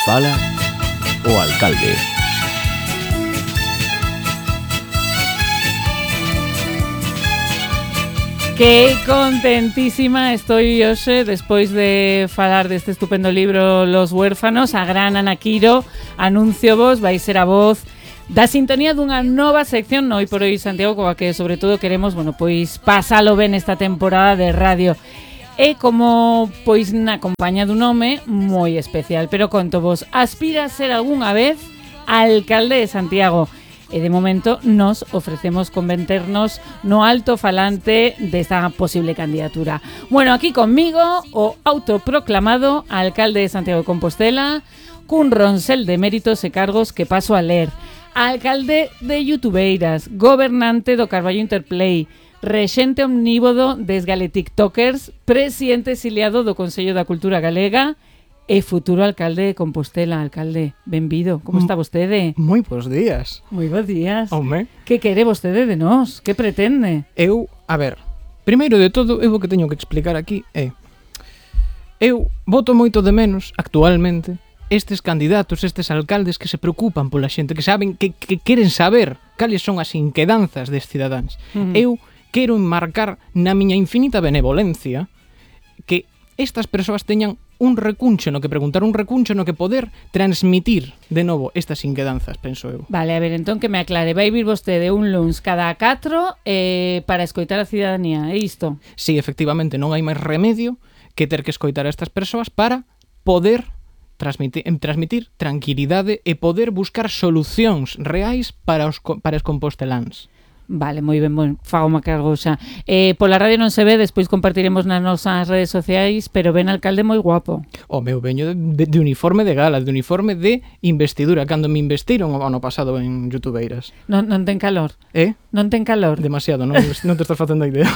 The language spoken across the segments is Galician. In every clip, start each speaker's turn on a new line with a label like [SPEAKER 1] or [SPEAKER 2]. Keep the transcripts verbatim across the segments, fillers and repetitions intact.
[SPEAKER 1] Fala o alcalde.
[SPEAKER 2] Que contentísima estoy hoxe despois de falar deste estupendo libro Los huérfanos. A gran Ana Quiro, anuncio vos, vai ser a voz da sintonía dunha nova sección no Hoy por Hoy Santiago, coa que sobre todo queremos, bueno, pois pasalo ben esta temporada de radio. E como pois na compañía dun home moi especial, pero conto vos, aspira a ser algunha vez alcalde de Santiago. E de momento nos ofrecemos converternos no alto falante desta posible candidatura. Bueno, aquí conmigo o autoproclamado alcalde de Santiago de Compostela, cun ronsel de méritos e cargos que paso a ler. Alcalde de Youtubeiras, gobernante do Carballo Interplay, rexente omnívodo des gale tiktokers, presidente exiliado do Consello da Cultura Galega e futuro alcalde de Compostela. Alcalde, benvido. Como está vostede?
[SPEAKER 3] Moi bons días.
[SPEAKER 2] Moi bons días.
[SPEAKER 3] Home.
[SPEAKER 2] Que quere vostede de nós? Que pretende?
[SPEAKER 3] Eu, a ver, primeiro de todo, eu o que teño que explicar aquí é eu voto moito de menos, actualmente, estes candidatos, estes alcaldes que se preocupan pola xente, que saben, que, que queren saber cales son as inquedanzas des cidadáns. Uh-huh. Eu quero enmarcar na miña infinita benevolencia que estas persoas teñan un recuncho no que preguntar, un recuncho no que poder transmitir de novo estas inquedanzas, penso eu.
[SPEAKER 2] Vale, a ver, entón que me aclare, vai vir vostede un luns cada catro eh, para escoitar a cidadanía, é isto?
[SPEAKER 3] Sí, efectivamente, non hai máis remedio que ter que escoitar a estas persoas para poder transmitir, transmitir tranquilidade e poder buscar solucións reais para os, para os composteláns.
[SPEAKER 2] Vale, moi ben, bon, fago má cargo xa. Eh, pola radio non se ve, despois compartiremos nas nosas redes sociais, pero ven alcalde moi guapo.
[SPEAKER 3] O meu veño de, de, de uniforme de gala, de uniforme de investidura, cando me investiron o ano pasado en Youtubeiras.
[SPEAKER 2] Non, non ten calor?
[SPEAKER 3] Eh?
[SPEAKER 2] Non ten calor?
[SPEAKER 3] Demasiado, non, non te estás facendo a idea.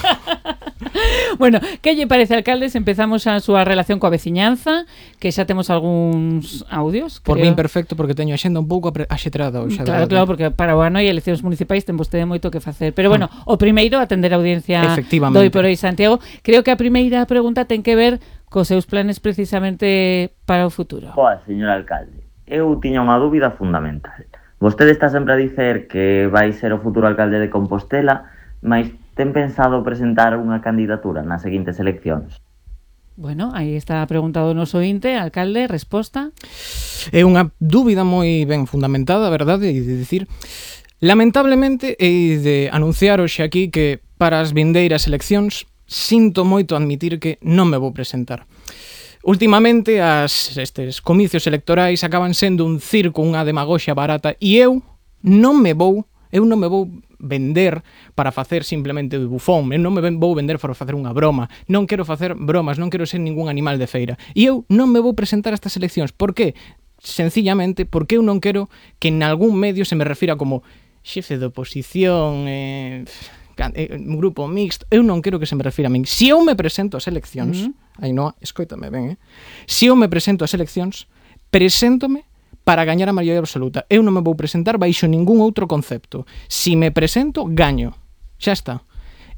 [SPEAKER 2] Bueno, que lle parece, alcaldes? Empezamos a súa relación coa veciñanza, que xa temos algúns audios.
[SPEAKER 3] Por
[SPEAKER 2] creo.
[SPEAKER 3] min perfecto, porque teño a xenda un pouco axetrada hoxe.
[SPEAKER 2] Claro, claro, porque para o ano e eleccións municipais ten vostede moito que facer. Pero bueno, mm. o primeiro, atender a audiencia do Hoy por Hoy Santiago. Creo que a primeira pregunta ten que ver cos seus planes precisamente para o futuro.
[SPEAKER 4] Boa, señor alcalde, eu tiña unha dúbida fundamental. Vostede está sempre a dicer que vai ser o futuro alcalde de Compostela, mas ten pensado presentar unha candidatura nas seguintes eleccións?
[SPEAKER 2] Bueno, aí está preguntado o noso ointe, alcalde, resposta.
[SPEAKER 3] É unha dúbida moi ben fundamentada, a verdade, e de dicir, lamentablemente, e de anunciar hoxe aquí que para as vindeiras eleccións sinto moito admitir que non me vou presentar. Últimamente, as, estes comicios electorais acaban sendo un circo, unha demagoxia barata, e eu non me vou, eu non me vou vender para facer simplemente de bufón, eu non me vou vender para facer unha broma, non quero facer bromas, non quero ser ningún animal de feira, e eu non me vou presentar a estas eleccións. Por que? Sencillamente porque eu non quero que en algún medio se me refira como xefe de oposición, eh, un grupo mixto. Eu non quero que se me refira a min. Se eu me presento ás eleccións, mm-hmm. Ainhoa, escoítame ben, eh? Se eu me presento ás eleccións, preséntome para gañar a maioría absoluta. Eu non me vou presentar baixo ningún outro concepto. Si me presento, gaño. Xa está.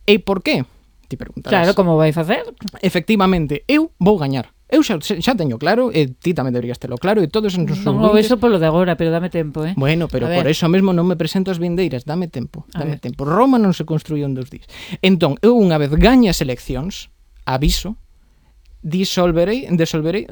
[SPEAKER 3] E por qué? Ti preguntarás.
[SPEAKER 2] Claro, como vai facer?
[SPEAKER 3] Efectivamente, eu vou gañar. Eu xa, xa teño claro, e ti tamén deberías telo claro, e todos os nosos
[SPEAKER 2] non o vexo polo de agora, pero dame tempo, eh?
[SPEAKER 3] Bueno, pero por eso mesmo non me presento ás vindeiras. Dame tempo, dame tempo. Roma non se construiu en dos días. Entón, eu unha vez gañe as eleccións, aviso, disolverei, disolverei,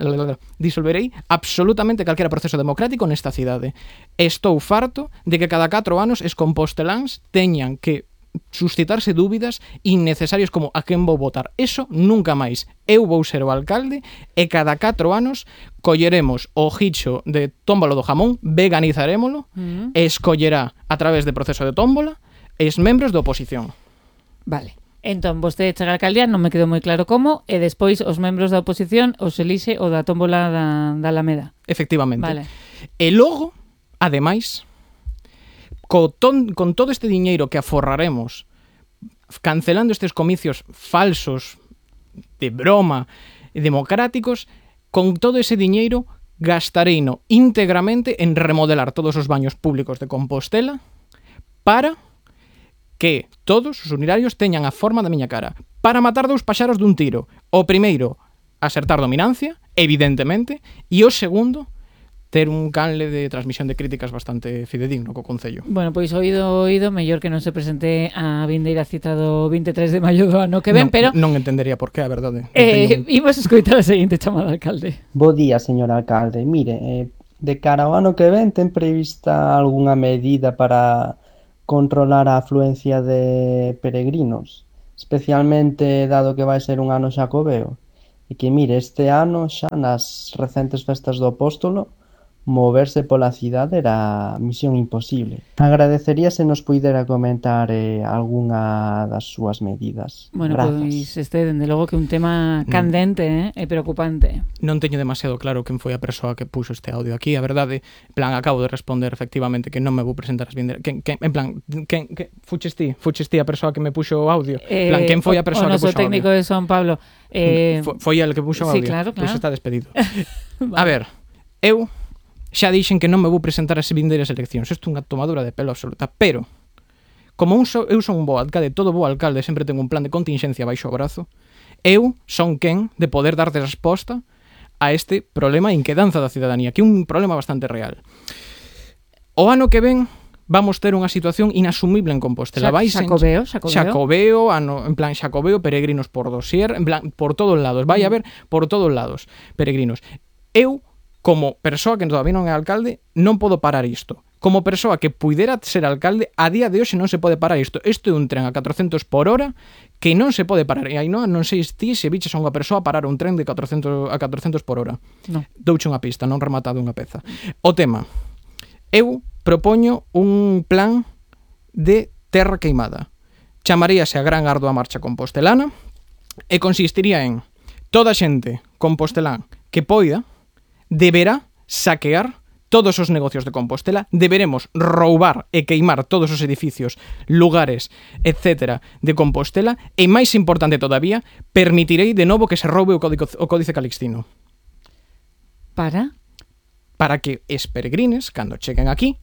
[SPEAKER 3] disolverei absolutamente calquera proceso democrático nesta cidade. Estou farto de que cada catro anos os composteláns teñan que suscitarse dúbidas innecesarias como a quen vou votar. Eso nunca máis. Eu vou ser o alcalde e cada catro anos colleremos o gicho de tómbola do jamón, veganizarémolo mm. e escollerá a través de proceso de tómbola os membros da oposición.
[SPEAKER 2] Vale. Entón, vostede chega a alcaldía, non me quedou moi claro como, e despois os membros da oposición os elixe o da tómbola da, da Alameda.
[SPEAKER 3] Efectivamente.
[SPEAKER 2] Vale.
[SPEAKER 3] E logo, ademais, co ton, con todo este diñeiro que aforraremos cancelando estes comicios falsos, de broma, democráticos, con todo ese diñeiro gastareino íntegramente en remodelar todos os baños públicos de Compostela para que todos os unitarios teñan a forma da miña cara, para matar dous paxaros dun tiro. O primeiro, acertar dominancia, evidentemente, e o segundo, ter un canle de transmisión de críticas bastante fidedigno co Concello.
[SPEAKER 2] Bueno, pois oído, oído, mellor que non se presente a vindeira cita do vinte e tres de maio do ano que ven,
[SPEAKER 3] non,
[SPEAKER 2] pero...
[SPEAKER 3] Non entendería por qué, a verdade.
[SPEAKER 2] Eh,
[SPEAKER 3] un...
[SPEAKER 2] Imos escoitar a seguinte chamada, alcalde.
[SPEAKER 5] Bo día, señor alcalde. Mire, eh, de cara ao ano que ven, ten prevista algunha medida para controlar a afluencia de peregrinos, especialmente dado que vai ser un ano xacobeo? E que, mire, este ano xa nas recentes festas do Apóstolo moverse pola cidade era misión imposible. Agradecería se nos puidera comentar eh, algunha das súas medidas.
[SPEAKER 2] Bueno,
[SPEAKER 5] Grazas.
[SPEAKER 2] pois este, dende logo que un tema candente, eh, e preocupante.
[SPEAKER 3] Non teño demasiado claro quen foi a persoa que puxo este audio aquí, a verdade, en plan, acabo de responder efectivamente que non me vou presentar as vindeiras. Quen, quen, en plan, quen, que, fuches ti, fuches ti a persoa que me puxo o audio. En plan, quen foi a persoa
[SPEAKER 2] o, o
[SPEAKER 3] que puxo o audio?
[SPEAKER 2] noso técnico de Son Pablo. Eh,
[SPEAKER 3] Foi, foi el que puxo o
[SPEAKER 2] sí,
[SPEAKER 3] audio.
[SPEAKER 2] claro, claro.
[SPEAKER 3] Pois está despedido. A ver, eu xa dixen que non me vou presentar as vindeiras eleccións. Isto é unha tomadura de pelo absoluta, pero como un so, eu son un bo alcalde, todo bo alcalde sempre ten un plan de contingencia baixo o brazo, eu son quen de poder dar de resposta a este problema e inquedanza da cidadanía, que é un problema bastante real. O ano que ven vamos ter unha situación inasumible en Compostela. Vai
[SPEAKER 2] xacobeo, xacobeo.
[SPEAKER 3] Xacobeo, ano, en plan xacobeo, peregrinos por dosier, en plan por todos lados. Vai haber por todos lados peregrinos. Eu, como persoa que todavía non é alcalde, non podo parar isto. Como persoa que puidera ser alcalde, a día de hoxe non se pode parar isto. Isto é un tren a catrocentos por hora que non se pode parar. E aí non, non sei ti se biches a unha persoa parar un tren de catrocentos a catrocentos por hora.
[SPEAKER 2] No.
[SPEAKER 3] Douche unha pista, non rematado unha peza. O tema. Eu propoño un plan de terra queimada. Chamaríase a Gran Ardua Marcha Compostelana e consistiría en toda a xente compostelán que poida deberá saquear todos os negocios de Compostela, deberemos roubar e queimar todos os edificios, lugares, etcétera, de Compostela, e máis importante todavía, permitirei de novo que se roube o Códice, o Códice Calixtino.
[SPEAKER 2] Para?
[SPEAKER 3] Para que es peregrines, cando cheguen aquí,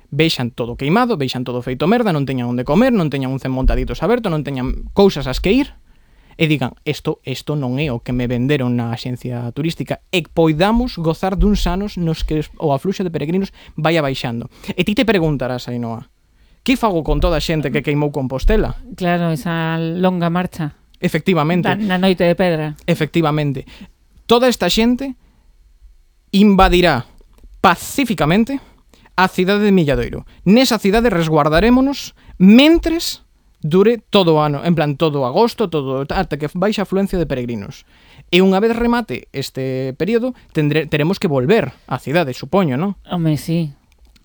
[SPEAKER 3] vexan todo queimado, vexan todo feito merda, non teñan onde comer, non teñan un cen montaditos aberto, non teñan cousas as que ir, e digan, isto, isto non é o que me venderon na axencia turística, e poidamos gozar duns anos nos que o afluxo de peregrinos vai abaixando. E ti te preguntarás, Ainhoa, que fago con toda a xente que queimou Compostela?
[SPEAKER 2] Claro, esa longa marcha.
[SPEAKER 3] Efectivamente.
[SPEAKER 2] Da, na noite de pedra.
[SPEAKER 3] Efectivamente. Toda esta xente invadirá pacíficamente a cidade de Milladoiro. Nesa cidade resguardarémonos mentres dure todo o ano, en plan todo agosto, todo ata que baixa a afluencia de peregrinos. E unha vez remate este período, tendre, teremos que volver á cidade, supoño, non?
[SPEAKER 2] Home, sí.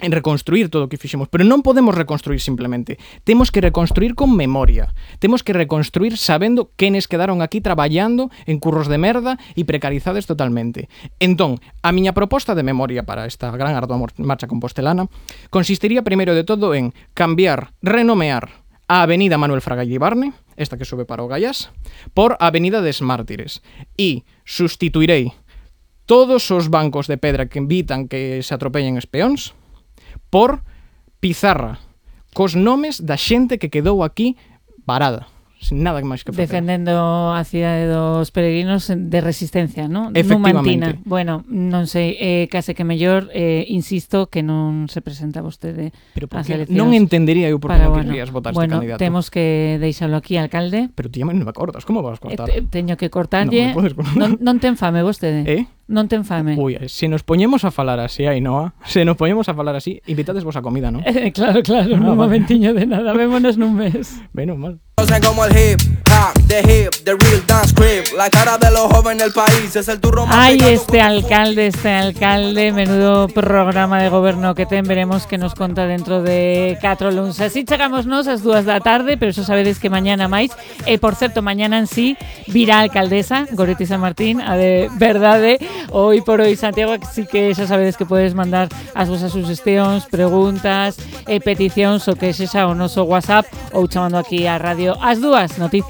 [SPEAKER 3] En reconstruir todo o que fixemos, pero non podemos reconstruir simplemente. Temos que reconstruir con memoria. Temos que reconstruir sabendo quenes quedaron aquí traballando en curros de merda e precarizades totalmente. Entón, a miña proposta de memoria para esta Gran Ardua Marcha Compostelana consistiría primeiro de todo en cambiar, renomear a Avenida Manuel Fraga Iribarne, esta que sube para o Gaiás, por Avenida des Mártires, e sustituirei todos os bancos de pedra que evitan que se atropellen espións por pizarra cos nomes da xente que quedou aquí varada, sin nada máis que facer.
[SPEAKER 2] Defendendo a cidade dos peregrinos de resistencia, non?
[SPEAKER 3] Efectivamente.
[SPEAKER 2] Numantina. Bueno, non sei, eh, case que mellor, eh, insisto, que non se presenta vostede ás eleccións.
[SPEAKER 3] Non entendería eu por que
[SPEAKER 2] Para,
[SPEAKER 3] non
[SPEAKER 2] bueno,
[SPEAKER 3] querrías votar
[SPEAKER 2] bueno,
[SPEAKER 3] este candidato.
[SPEAKER 2] temos que deixalo aquí, alcalde.
[SPEAKER 3] Pero ti non me cortas, como vas a cortar?
[SPEAKER 2] Eh, te, teño que cortarlle.
[SPEAKER 3] Non me podes cortar.
[SPEAKER 2] Non, non ten fame vostede.
[SPEAKER 3] Eh?
[SPEAKER 2] Non ten fame.
[SPEAKER 3] Ui, se nos poñemos a falar así, Ainhoa, se nos poñemos a falar así, invitades vos a comida, non?
[SPEAKER 2] Eh, claro, claro,
[SPEAKER 3] Ah,
[SPEAKER 2] nun
[SPEAKER 3] vale.
[SPEAKER 2] momentiño de nada. Vémonos nun mes.
[SPEAKER 3] Menos mal.
[SPEAKER 6] Como el hip hop, the hip, the real dance crib. La cara de los jóvenes del país es el turro más
[SPEAKER 2] Ay,
[SPEAKER 6] pegado
[SPEAKER 2] este
[SPEAKER 6] con-
[SPEAKER 2] alcalde, este alcalde, menudo programa de goberno que ten, veremos que nos conta dentro de catro luns. Así chegámonos ás dúas da tarde, pero eso sabedes que mañana máis. E, por certo, mañana en sí virá a alcaldesa, Goretti San Martín, a de verdade. Hoy por hoy, Santiago, así que xa sabedes que podes mandar as vosas sugestións, preguntas, e peticións, o que sexa o noso WhatsApp ou chamando aquí a radio ás dúas, noticias.